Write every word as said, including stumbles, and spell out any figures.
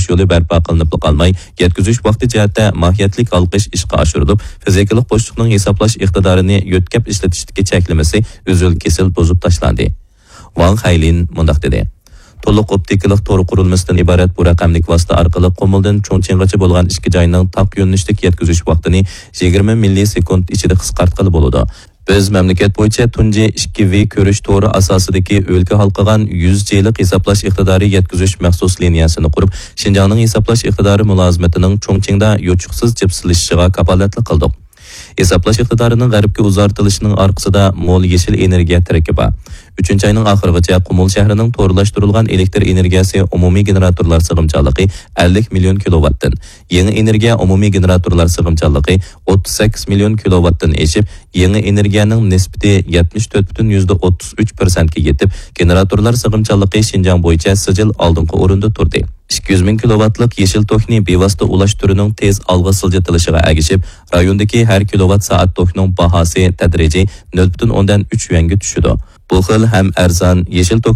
يولى بەرپا قىلىنىپلا قالماي، يەتكۈزۈش ۋاقتى جەھەتتە ماھىيەتلىك ھالقىش ئىشقا ئاشۇرۇلۇپ، فىزىكىلىق بوشلۇقنىڭ ھېسابلاش ئىقتىدارىنى يۆتكەپ ئىشلىتىشتىكى چەكلىمىسى ئۈزۈل-كېسىل بۇزۇپ تاشلاندى. ۋاڭ خەيلىن مۇنداق دېدى: تولۇق ئوپتىكىلىق تور قۇرۇلمىسىدىن ئىبارەت بۇ رەقەملىك ۋاسىتە ئارقىلىق قۇمۇلدىن چۇڭچىڭغىچە بولغان ئىككى جاينىڭ تاق يۆنىلىشلىك يەتكۈزۈش ۋاقتىنى يىگىرمە مىللىسېكۇنت ئىچىدە قىسقارتقىلى بولىدۇ. بىز مەملىكەت بويىچە تۇنجى ئىككى ۋې كۆرۈش تورى ئاساسىدىكى ئۆلكە ھالقىغان يۈز جىلىق ھېسابلاش ئىقتىدارى يەتكۈزۈش مەخسۇس لىنىيەسىنى قۇرۇپ، شىنجاڭنىڭ ھېسابلاش ئىقتىدارى مۇلازىمىتىنىڭ چۇڭچىڭدا يوچۇقسىز جىپسىلىشىشىغا كاپالەتلىك قىلدۇق. ھېسابلاش ئىقتىدارىنىڭ غەربكە ئۇزارتىلىشىنىڭ ئارقىسىدا مول يېشىل ئېنېرگىيە تىرىكى بار. ئۈچىنچى ئاينىڭ ئاخىرىغىچە قۇمۇل شەھىرىنىڭ تورلاشتۇرۇلغان ئېلېكتر ئېنېرگىيەسى ئومۇمىي گېنېراتورلار سىغىمچانلىقى ئەللىك مىليون كىلوۋاتتىن، يېڭى ئېنېرگىيە ئومۇمىي گېنېراتورلار سىغىمچانلىقى ئوتتۇز سەككىز مىليون كىلوۋاتتىن ئېشىپ، يېڭى ئېنېرگىيەنىڭ نىسبىتى يەتمىش تۆت پۈتۈن يۈزدە ئوتتۇز ئۈچ پىرسەنتكە يېتىپ، گېنېراتورلار سىغىمچانلىقى شىنجاڭ بويىچە سىجىل ئالدىنقى ئورۇندا تۇردى. ئىككى يۈز مىڭ كىلوۋاتلىق يېشىل توكنى بىۋاسىتە ئۇلاش تۈرىنىڭ تېز ئالغا سىلجىتىلىشىغا ئەگىشىپ، رايوندىكى ھەر كىلوۋات سائەت توكنىڭ باھاسى تەدرىجىي نۆل پۈتۈن ئوندىن ئۈچ يۈەنگە چۈشىدۇ. بۇ خىل ھەم ئەرزان يېشىل توك